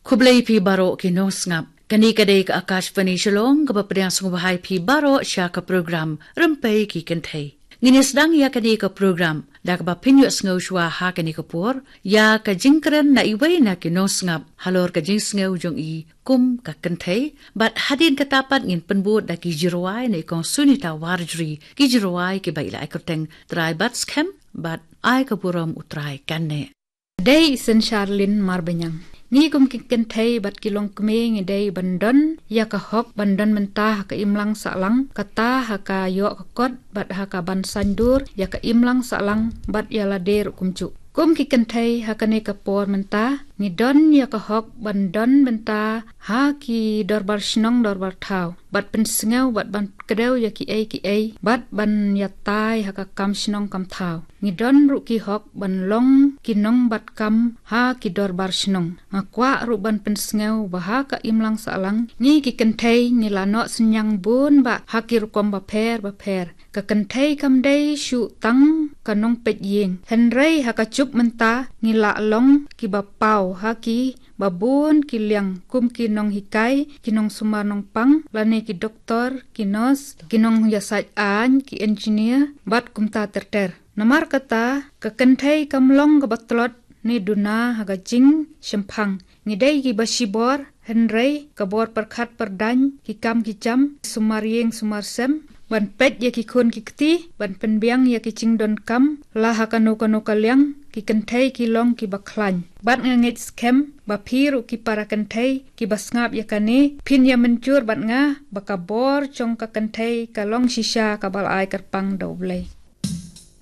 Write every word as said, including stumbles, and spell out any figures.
Khublei phi baroh ki nongsngap. Kane ka dei ka Akashvani Shillong kaba pdiang sngewbha ïa phi baroh sha ka program Rympei ki Kynthei. Ngin ïa sdang ïa kane ka program da kaba pynïohsngew shuwa ha kane ka por ïa ka jingkren na iwei na ki nongsngap halor ka jingsngew jong i kum ka kynthei, bad hadien kata pat ngin pynbud da ki jingrwai na i Kong Sunita Warjri, ki jingrwai kiba i la ai kyrteng Trai Batskhem bad Ai ka burom U Trai kan neh. Dei i Sen Sharlin Marbaniang. Ngi kum ki kynthei bad ki longkmie ngi dei ban don ïa ka hok ban don mynta ha ka imlang sahlang, kata ha ka ïoh ka kot bad ha ka ban saiñdur ïa ka imlang sahlang bad ïa lade ruh kumjuh. Kum ki kynthei ha kane ka por mynta ngi don ïa ka hok ban don mynta ha ki dorbar shnong dorbar thaw, bad pynsngew bad ban kdew ïa kiei kiei bad ban ïatai ha ka kam shnong kam thaw. Ngi don ruh ki hok ban long ki nongbat kam ha ki dorbar shnong. Nga kwah ruh ban pynsngew ba ha ka imlang sahlang ngi ki kynthei ngi la noh synñiang bun bah ha ki rukom bapher bapher. Ka kynthei kam dei shuh tang ka nongpeit ïing, hynrei ha ka juk mynta ngi la long kiba paw ha kiba bun ki liang kum ki nonghikai, ki nongsumar nongpang lane ki doktor, ki nurse, ki nongïasaid aiñ, ki engineer bad kumta ter ter. Namar kata ka kynthei kam long kaba tlot ne duna ha ka jingshemphang. Ngi dei kiba shibor, hynrei ka bor pyrkhat pyrdaiñ, ki kam ki jam, sumar ïing sumar sem, ban peit ïa ki khun ki kti, ban pynbiang ïa ki jingdonkam la ha kano kano ka liang, ki kynthei ki long kiba khlaiñ. Bad nga ngeit skhem ba phi ruh ki para kynthei kiba sngap ïa kane phin ïa mynjur bad nga ba ka bor jong ka kynthei ka long shisha kaba la ai kyrpang da U Blei.